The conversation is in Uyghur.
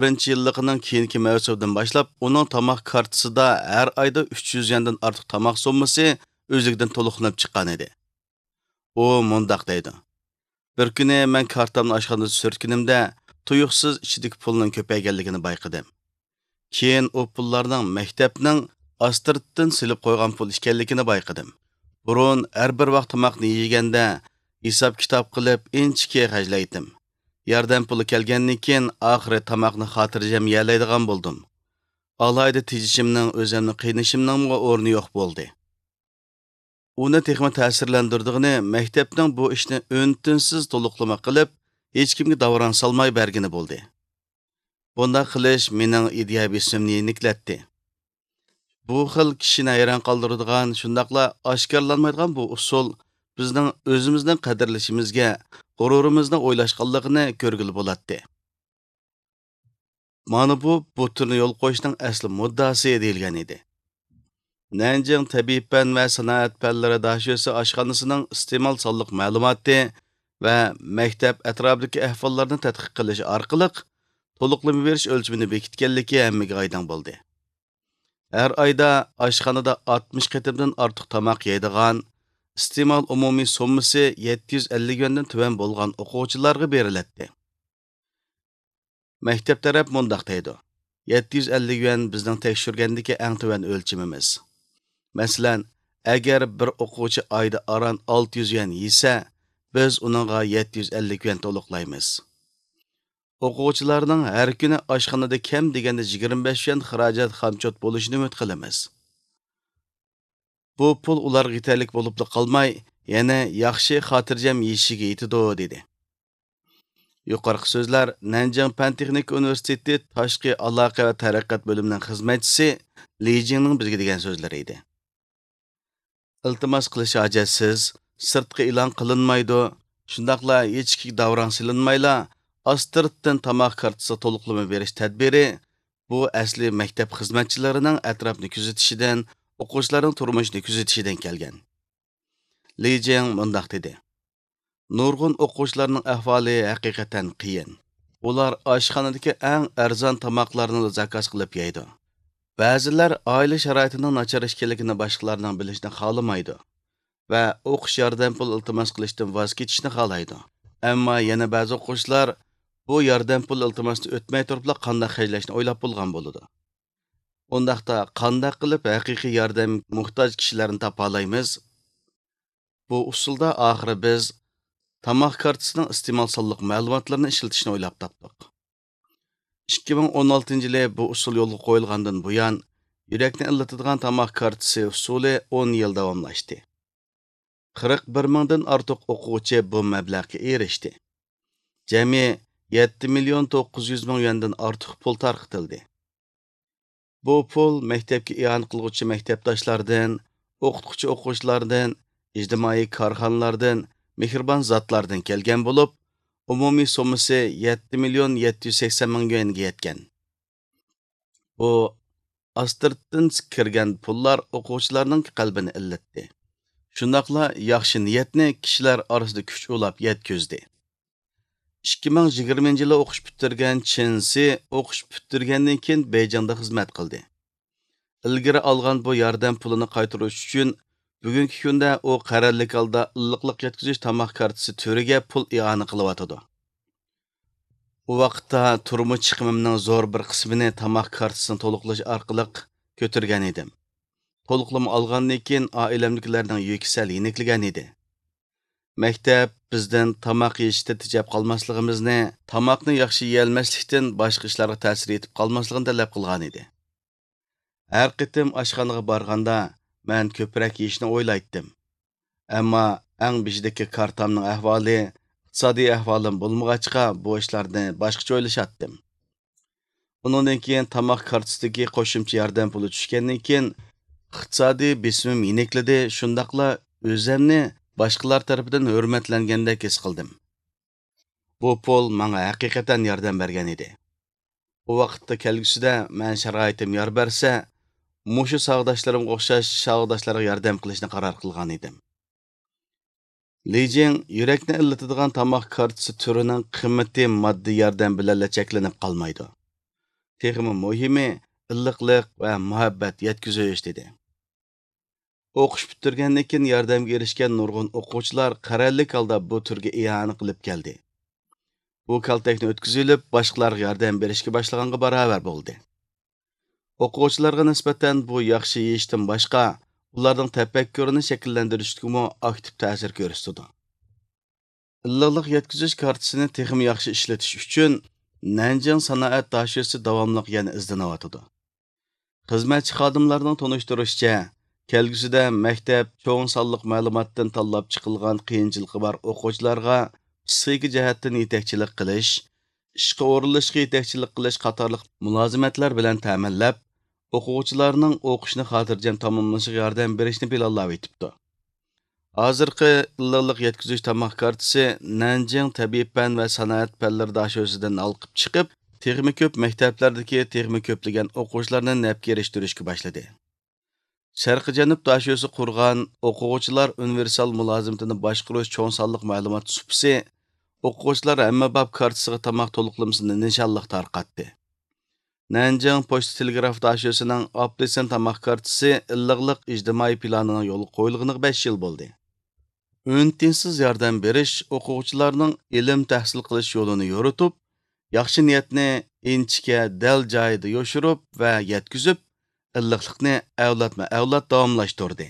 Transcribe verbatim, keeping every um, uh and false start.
بىرىنچى يىللىقىنىڭ كېيىنكى مەۋسۇمىدىن باشلاپ ئۇنىڭ تاماق كارتىسىدا ھەر ئايدا ئۈچ يۈز يۈەندىن ئارتۇق تاماق سوممىسى ئۆزلۈكىدىن تولۇقلىنىپ چىققان ئىدى. ئۇ مۇنداق دەيدۇ: بىر كۈنى مەن كارتامنى ئاشخانىدا سۈرتكىنىمدە، تۇيۇقسىز ئىچىدىكى پۇلنىڭ كۆپەيگەنلىكىنى بايقىدىم. كېيىن ئۇ پۇللارنىڭ مەكتەپنىڭ ئاستىرتتىن سېلىپ قويغان پۇل ئىكەنلىكىنى بايقىدىم. بۇرۇن ھەر بىر ۋاق تاماقنى يېگەندە، ھېساب-كىتاب قىلىپ، ئىنچىكە خەجلەيتتىم. ياردەم پۇلى كەلگەندىن كېيىن، ئاخىرى تاماقنى خاتىرجەم يېيەلەيدىغان بولدۇم. ئالاھىدە تېجىشىمنىڭ، ئۆزۈمنى قىينىشىمنىڭمۇ ئورنى يوق بولدى. ئۇنى تېخىمۇ تەسىرلەندۈرىدىغىنى، مەكتەپنىڭ بۇ ئىشنى ئۈن-تىنسىز تولۇقلىما قىلىپ، ھېچكىمگە داۋراڭ سالماي بەرگىنى بولدى. بۇنداق قىلىش مېنىڭ ئىدىيە بېسىمىمنى يېنىكلەتتى. بۇ خىل كىشىنى ھەيران قالدۇرىدىغان، شۇنداقلا ئاشكارىلانمايدىغان بۇ ئۇسۇل بىزنىڭ ئۆزىمىزنى قەدىرلىشىمىزگە، غۇرۇرىمىزنى ئويلاشقانلىقىنى كۆرگىلى بولاتتى. مانا بۇ بۇ تۈرنى يولغا قويۇشنىڭ ئەسلى مۇددىئاسى دېيىلگەن ئىدى. نەنجىڭ تەبىئىي پەن ۋە سانائەت پەنلىرى داشۆسى ئاشخانىسىنىڭ ئىستېمال سانلىق مەلۇماتى ۋە مەكتەپ ئەتراپىدىكى ئەھۋاللارنى تەتقىق قىلىش ئارقىلىق تولۇقلىما بېرىش ئۆلچىمىنى بېكىتكەنلىكى ھەممىگە ئايدىڭ بولدى. ھەر ئايدا ئاشخانىدا ئاتمىش قېتىمدىن ئارتۇق تاماق يەيدىغان، ئىستېمال ئومۇمىي سوممىسى يەتتە يۈز ئەللىك يۈەندىن تۆۋەن بولغان ئوقۇغۇچىلارغا بېرىلەتتى. مەكتەپ تەرەپ مۇنداق دەيدۇ: يەتتە يۈز ئەللىك يۈەن بىزنىڭ تەكشۈرگەندىكى ئەڭ تۆۋەن ئۆلچىمىمىز. مەسىلەن، ئەگەر بىر ئوقۇغۇچى ئايدا ئاران ئالتە يۈز يۈەن يېسە، بىز ئۇنىڭغا يەتتە يۈز ئەللىك يۈەن تولۇقلايمىز. ئوقۇغۇچىلارنىڭ ھەر كۈنى ئاشخانىدا كەم دېگەندە يىگىرمە بەش يۈەن خىراجەت خامچوت بولۇشىنى ئۈمىد قىلىمىز. بۇ پۇل ئۇلارغا يېتەرلىك بولۇپلا قالماي، يەنە ياخشى خاتىرجەم يېشىشىگە يېتىدۇ، دېدى. يۇقىرىقى سۆزلەر نەنجىڭ پەن تېخنىكا ئۇنىۋېرسىتېتى تاشقى ئالاقە ۋە تەرەققىيات بۆلۈمىنىڭ خىزمەتچىسى لى جىڭنىڭ بىزگە دېگەن سۆزلىرى ئىدى. ئىلتىماس قىلىش ھاجەتسىز، سىرتقا ئېلان قىلىنمايدۇ، شۇنداقلا ھېچكىمگە داۋراڭ سېلىنمايلا، ئاستىرتتىن تاماق كارتىسىغا تولۇقلىما بېرىش تەدبىرى، بۇ ئەسلى مەكتەپ خىزمەتچىلىرىنىڭ ئەتراپنى كۆزىتىشىدىن، ئوقۇغۇچىلارنىڭ تۇرمۇشىنى كۆزىتىشىدىن كەلگەن. لى جىڭ مۇنداق دېدى: نۇرغۇن ئوقۇغۇچىلارنىڭ ئەھۋالى ھەقىقەتەن قىيىن. ئۇلار ئاشخانىدىكى ئەڭ ئەرزان تاماقلارنىلا زاكاز قىلىپ يەيدۇ. بەزىلەر ئائىلە شارائىتىنىڭ ناچار ئىكەنلىكىنى باشقىلارنىڭ بىلىشىنى خالىمايدۇ ۋە ئوقۇش ياردەم پۇل ئىلتىماس قىلىشتىن ۋاز كېچىشنى خالايدۇ. ئەمما يەنە بەزى ئوقۇغۇچىلار بۇ ياردەم پۇل ئىلتىماسنى ئۆتمەي تۇرۇپلا قانداق خەجلەشنى ئويلاپ بولغان بولىدۇ. ئۇنداقتا قانداق قىلىپ ھەقىقىي ياردەم موھتاج كىشىلەرنى تاپالايمىز؟ بۇ ئۇسۇلدا ئاخىرى بىز تاماق كارتىسىنىڭ ئىستېمال سانلىق مەلۇماتلىرىنى ئىشلىتىشنى ئويلاپ تاپتۇق. ئىككى مىڭ ئون ئالتىنچى يىلى بۇ ئۇسۇل يولغا قويۇلغاندىن بۇيان، يۈرەكنى ئىللىتىدىغان تاماق كارتىسى ئۇسۇلى ئون يىل داۋاملاشتى. قىرىق بىر مىڭدىن ئارتۇق ئوقۇغۇچى بۇ مەبلەغكە ئېرىشتى. جەمئىي يەتتە مىليون توققۇز يۈز مىڭ يۈەندىن ئارتۇق پۇل تارقىتىلدى. بۇ پۇل مەكتەپكە ئىئانە قىلغۇچى مەكتەپداشلاردىن، ئوقۇتقۇچى ئوقۇغۇچىلاردىن، ئىجتىمائىي كارخانىلاردىن، مېھرىبان زاتلاردىن كەلگەن بولۇپ، ئومۇمىي سوممىسى يەتتە مىليون يەتتە يۈز سەكسەن مىڭ يۈەنگە يەتكەن. بۇ ئاستىرتتىن كىرگەن پۇللار ئوقۇغۇچىلارنىڭ قەلبىنى ئىللىتتى. شۇنداقلا ياخشى نىيەتنى كىشىلەر ئارىسىدا كۈچ ئۇلاپ يەتكۈزدى. ئىككى مىڭ يىگىرمىنچى يىلى ئوقۇش پۈتتۈرگەن چېن سى ئوقۇش پۈتتۈرگەندىن كېيىن بېيجىڭدا خىزمەت قىلدى. ئىلگىرى ئالغان بۇ ياردەم پۇلىنى قايتۇرۇش ئۈچۈن، بۈگۈنكى كۈندە ئۇ قەرەللىك ھالدا ئىللىقلىق يەتكۈزۈش تاماق كارتىسى تۈرىگە پۇل ئىئانە قىلىۋاتىدۇ. ئۇ ۋاقىتتا تۇرمۇش چىقىمىمنىڭ زور بىر قىسمىنى تاماق كارتىسىنى تولۇقلاش ئارقىلىق كۆتۈرگەن ئىدىم. تولۇقلىما ئالغاندىن كېيىن ئائىلەمدىكىلەرنىڭ يۈكى سەل يېنىكلىگەن ئىدى. مەكتەپ بىزدىن تاماق يېيىشتىن تېجەپ قالماسلىقىمىزنى، تاماقنى ياخشى يېيەلمەسلىكتىن باشقا ئىشلارغا تەسىر يېتىپ قالماسلىقىنى تەلەپ قىلغان ئىدى. ھەر قېتىم ئاشخانىغا بارغاندا، مەن كۆپرەك يېيىشنى ئويلايتتىم. ئەمما ئەڭ بېشىدىكى كارتامنىڭ ئەھۋالى، ئىقتىسادىي ئەھۋالىم بولمىغاچقا، بۇ ئىشلارنى باشقىچە ئويلىشاتتىم. ئۇنىڭدىن كېيىن تاماق كارتىسىدىكى قوشۇمچە ياردەم پۇلى چۈشكەندىن كېيىن، ئىقتىسادىي بېسىمىم يېنىكلىدى، شۇنداقلا ئۆزۈمنى باشقىلار تەرىپىدىن ھۆرمەتلەنگەندەك ھېس قىلدىم. بۇ پۇل ماڭا ھەقىقەتەن ياردەم بەرگەن ئىدى. ئۇ ۋاقىتتا كەلگۈسىدە مەن شارائىتىم يار بەرسە، مۇشۇ ساۋاقداشلىرىمغا ئوخشاش ساۋاقداشلارغا ياردەم قىلىشنى قارار قىلغان ئىدىم. لى جىڭ يۈرەكنى ئىللىتىدىغان تاماق كارتىسى تۈرىنىڭ قىممىتى ماددىي ياردەم بىلەنلا چەكلىنىپ قالمايدۇ. تېخىمۇ مۇھىمى، ئىللىقلىق ۋە مۇھەببەت يەتكۈزۈش، دېدى. ئوقۇش پۈتتۈرگەندىن كېيىن ياردەمگە ئېرىشكەن نۇرغۇن ئوقۇغۇچىلار قەرەللىك ھالدا بۇ تۈرگە ئىئانە قىلىپ كەلدى. بۇ كالتەكنى ئۆتكۈزۈۋېلىپ، باشقىلارغا ياردەم بېرىشكە باشلىغانغا باراۋەر بولدى. ئوقۇغۇچىلارغا نىسبەتەن بۇ ياخشى يېيىشتىن باشقا، ئۇلارنىڭ تەپەككۇرىنى شەكىللەندۈرۈشتىكىمۇ ئاكتىپ تەسىر كۆرسىتىدۇ. ئىللىقلىق يەتكۈزۈش كارتىسىنى تېخىمۇ ياخشى ئىشلىتىش ئۈچۈن، نەنجىڭ سانائەت داشۆسى داۋاملىق يەنە ئىزدىنىۋاتىدۇ. خىزمەتچى خادىملارنىڭ تونۇشتۇرۇشىچە، كەلگۈسىدە مەكتەپ چوڭ سانلىق مەلۇماتتىن تاللاپ چىقىلغان قىيىنچىلىقى بار ئوقۇغۇچىلارغا پىسخىكا جەھەتتىن يېتەكچىلىك قىلىش، ئىشقا ئورۇنلىشىشقا يېتەكچىلىك قىلىش قاتارلىق مۇلازىمەتلەر بىلەن تەمىنلەپ، ئوقۇغۇچىلارنىڭ ئوقۇشىنى خاتىرجەم تاماملىشىغا ياردەم بېرىشنى پىلانلاۋېتىپتۇ. ھازىرقى ئىللىقلىق يەتكۈزۈش تاماق كارتىسى نەنجىڭ تەبىئىي پەن ۋە سانائەت پەنلىرى داشۆسىدىن ھالقىپ چىقىپ، تېخىمۇ كۆپ مەكتەپلەردىكى تېخىمۇ كۆپلىگەن ئوقۇغۇچىلارنى نەپكە ئېرىشتۈرۈشكە باشلىدى. شەرقىي جەنۇب داشۆسى قۇرغان ئوقۇغۇچىلار ئۇنىۋېرسال مۇلازىمىتىنى باشقۇرۇش چوڭ سانلىق مەلۇمات سۇپىسى ئوقۇغۇچىلار ھەممە باب كارتىسىغا تاماق تولۇقلىمىسىنى نىشانلىق تارقاتتى. نەنجىڭ پوچتا تېلېگراف داشۆسىنىڭ ئاپېلسىن تاماق كارتىسى ئىللىقلىق ئىجتىمائىي پىلانىنىڭ يولغا قويۇلغىنىغا بەش يىل بولدى. ئۈن تىنسىز ياردەم بېرىش ئوقۇغۇچىلارنىڭ ئىلىم تەھسىل قىلىش يولىنى يورۇتۇپ، ياخشى نىيەتنى ئىنچىكە، دەل جايىدا يوشۇرۇپ ۋە يەتكۈزۈپ، ئىللىقلىقنى ئەۋلادمۇ ئەۋلاد داۋاملاشتۇردى.